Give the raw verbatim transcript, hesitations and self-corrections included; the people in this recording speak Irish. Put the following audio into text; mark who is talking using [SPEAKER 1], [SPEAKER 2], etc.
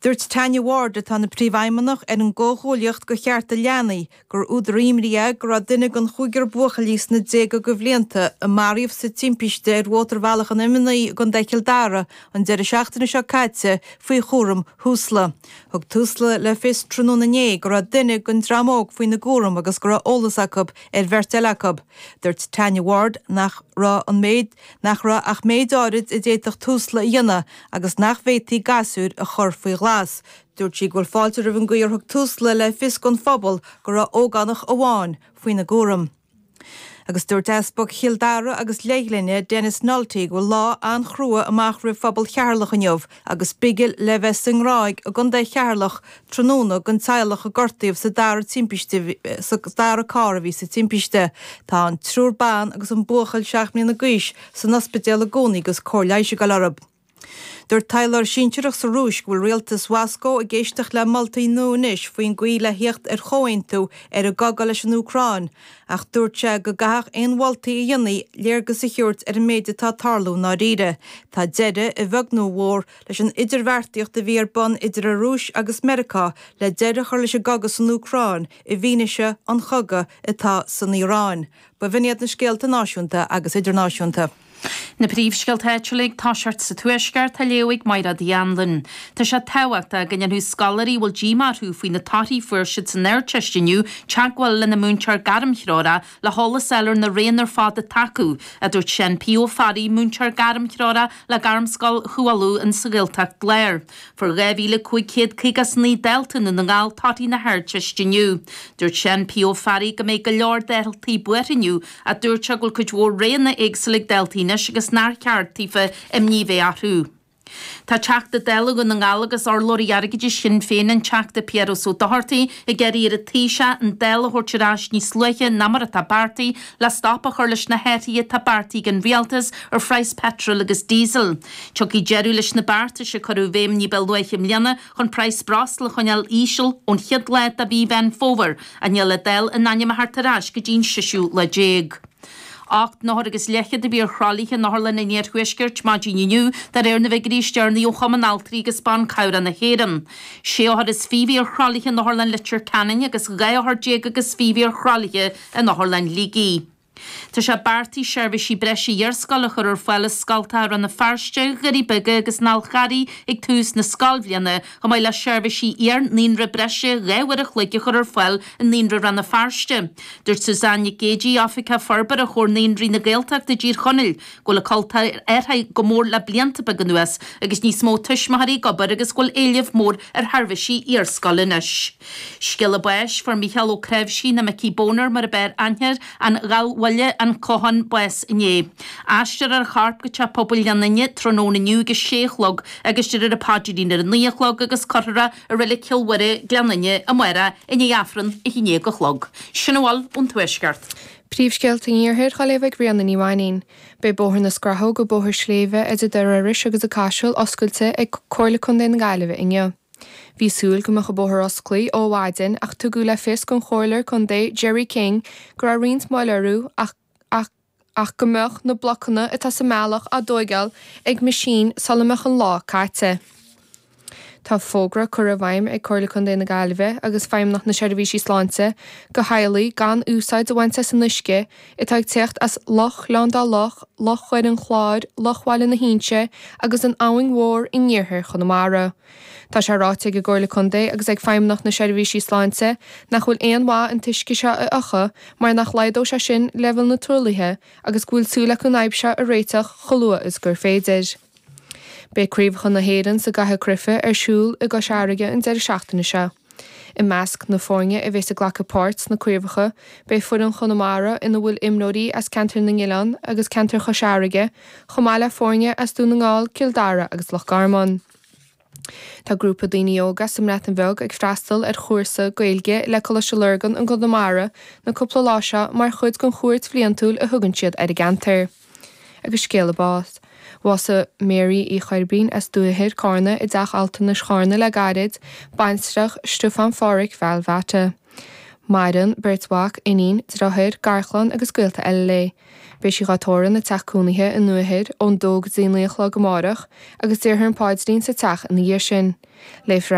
[SPEAKER 1] Dúirt Tanya Ward atá ina príomhfheidhmeannach ar an gComhghuaillíocht do Chearta Leanaí gur údar imní é go raibh duine den chúigear buachaillí sna déaga de bhlianta a maraíodh sa timpiste ar Mhótarbhealach an M naoi i gContae Chill Dara an deireadh seachtaine seo caite faoi chúram Thúsla. Thug Tusla le fios tráthnóna inné go raibh duine den dream óg faoina gcúram agus go raibh eolas acu ar bheirt eile acu. Dúirt Tanya Ward nach raibh an méid nach raibh ach méid áirid a d'fhéadfadh Tusla a dhéanamh agus nach bhféadfaí gasúir a chur faoi ghlas. Dúirt sí go bhfuil fáilte roimh an gcaoi ar thug Tusla le fios don phobal go raibh ógánach amháin faoina gcúram. Agus dúirt Easpag Chill Dara agus Leithghlinne Denis Nulty go bhfuil lá an-chrua amach roimh phobal Cheatharlach inniu agus bigil le bheith sa nGráig i gContae Cheatharlach tráthnóna don teaghlach a gortaíodh sa dara timpiste sa dara carr a bhí sa timpiste. Tá an triúr ban agus an buachaill seacht mbliana d'aois san ospidéal i gcónaí agus cóir leighis ag dul orthu. Dúirt taidhleoir sinsearach sa Rúis go bhfuil rialtas Mhoscó ag éisteacht le moltaí nua anois faoin gcaoi le theacht ar chomhaontú ar an gcogadh leis an Úcráin, ach dúirt sé go gcaithfeadh aon mholtaí a dhéanfaí léargas a thabhairt ar an méid atá ag tarlú i ndáiríre. Tá deireadh, a bheag nó a mhór, leis an idirbheartaíocht a bhí ar bun idir an Rúis agus Meiriceá le deireadh a chur leis an gcogadh san Úcráin i bhfianaise an chogaidh atá san Iaráin. Ba bh'in iad na scéalta náisiúnta agus idirnáisiúnta.
[SPEAKER 2] Na príomhscéalta áitiúla ag toiseacht sa Tuaisceart á léamh ag Mairéad Uí Anluain. Tá sé tábhachtach go ndéanfadh scoláirí a bhfuil díomá orthu faoi na torthaí a fuair siad san Ardteist inniu teagmháil lena múinteoir gairmthreorach le heolas a fháil ar na roghanna ar fad atá acu, a dúirt Seán P. Ó Fearraigh, múinteoir gairmthreorach le Gairmscoil Chú Uladh in sa Ghaeltacht Láir. Fuair dhá mhíle cúig chéad caoga is naoi dalta i nDún na nGall torthaí na hArdteiste inniu. Dúirt Seán P. Ó Fearraigh go mbeidh go leor daltaí buartha inniu ach dúirt sé go bhfuil cuid mhór roghanna éagsúla ag daltaí anois agus nár cheart daofa imní bheith orthu. Tá Teachta Dála Dhún na nGall agus urlabhraí airgeadais Shinn Féin an Teachta Piaras Ó Dochartaigh ag iarraidh ar an Taoiseach an Dáil a thabhairt ar ais níos luaithe ná mar atá beartaithe le stop a chur leis na hathruithe atá beartaithe ag an rialtas ar phraghas peitril agus díosail. Tiocfaidh deireadh leis na beartais a cuireadh i bhfeidhm ní ba luaithe i mbliana chun praghas breosla a choinneáil íseal ón chéad lá de mhí Mheán Fómhair ach níl an Dáil in ainm a theacht ar ais go dtí'n seisiú lá déag. Ocht n-othar agus leathchéad a bhí ar thralaithe in Otharlann an Iarthuaiscirt maidin inniu, de réir na bhfigiúirí is deireanaí ó Chumann Altraí agus Ban Cabhrach na hÉireann. Sé othar is fiche a bhí ar thralaithe in Otharlann Leitir Ceanainn agus dhá othar déag agus fiche a bhí ar thralaithe in Otharlann Shligigh. Tá sé beartaithe seirbhísí breise iarscoile a chur ar fáil i scoltacha Rann na Feirste, Dhoirí Beaga agus an Fhál Carraigh ag tús na scoilbhliana, chomh maith le seirbhísí iar-naíonra breise dhá uair a chloig a chur ar fáil i Naíonra Rann na Feirste. Dúirt Suzanne Nic Géidigh, Oifigeach Forbartha Chomhar Naíonraí na Gaeltachta i dTír Chonaill, go bhfuil an cultúr athraithe go mór le blianta beaga anuas agus níos mó tuismitheoirí ag obair agus go bhfuil éileamh mór ar sheirbhísí iarscoile anois. Scéala báis, Fuair Mícheál Ó Cnáimhsí, nó Micí Boner mar a b'fhearr aithne air, An Gallbhaile, An Clochán, bás inné. Aistreofar a chorp go Teach Pobail Ghleann Fhinne tráthnóna inniu ag a sé a chlog agus déarfar an paidrín ar a naoi a chlog agus cuirfear é i Reilig Chill Mhuire, Gleann Fhinne, amárach i ndiaidh Aifreann a haon déag a chlog. Sin a bhfuil ón Tuaisceart.
[SPEAKER 3] Príomhscéalta an Iarthair á léamh ag Ríona Ní Mhainín. Beidh Bóthar na Scrathóg go Bóthar Sléibhe idir Doire Iorrais agus an Caiseal oscailte ag Comhairle Contae na Gaillimhe inniu. Bhí súil go mbeadh an bóthar oscailte ó mhaidin ach tugadh le fios don chomhairleoir contae Jerry King go raibh roinnt moill orthu ach ach ach go mbeadh na blocanna atá sa mbealach á dtógáil ag meaisín sula mbeadh an lá caite. Tá fógra curtha i bhfeidhm ag Comhairle Contae na Gaillimhe agus Feidhmeannacht na Seirbhísí Sláinte do theaghlaigh gan úsáid a bhaint as an uisce atá ag teacht as Loch Ghleann Dá Loch, Loch Dhoire an Chláir, Loch Bhaile na hInse agus an Abhainn Mhór in iarthar Chonamara. Tá sé ráite ag an gComhairle Contae agus ag Feidhmeannacht na Seirbhísí Sláinte nach bhfuil aon mhaith an t-uisce seo a fhiuchadh mar nach laghdódh sé sin leibhéal na truaillithe agus go bhfuil súil acu an fhadhb seo a réiteach chomh luath is gur féidir. Beidh Craobhacha na hÉireann sa gcaitheamh cruife ar siúl i gCois Fharraige an deireadh seachtaine seo. I measc na foirne a bheas ag glacadh páirt sna craobhacha beidh foireann Chonamara ina bhfuil imreoirí as ceantar na nOileán agus ceantar Chois Fharraige, chomh maith le foirne as Dún na nGall, Cill Dara agus Loch Garman. Tá grúpa daoine óga sa mBreatain Bheag ag freastal ar chúrsa Gaeilge le Coláiste Lurgan i gConamara na cúpla lá seo mar chuid den chuairt bhliantúil a thugann siad ar an gceantar. Agus scéala báis. Bhásaigh Mary Uí Choirbín as Dúiche Carna i dteach altranais Charna le gairid, baintreach Stiofán Phádhraic Bheal Mhata. Maireann, beirt mhac, iníon, deartháir, garchlann agus gaolta eile léi. Beidh sí dhá tórramh ina teach cónaithe i nDumha Thoir ón dó go dtí a naoi a chlog amárach agus déarfar an paidrín sa teach ina dhiaidh sin. Léifear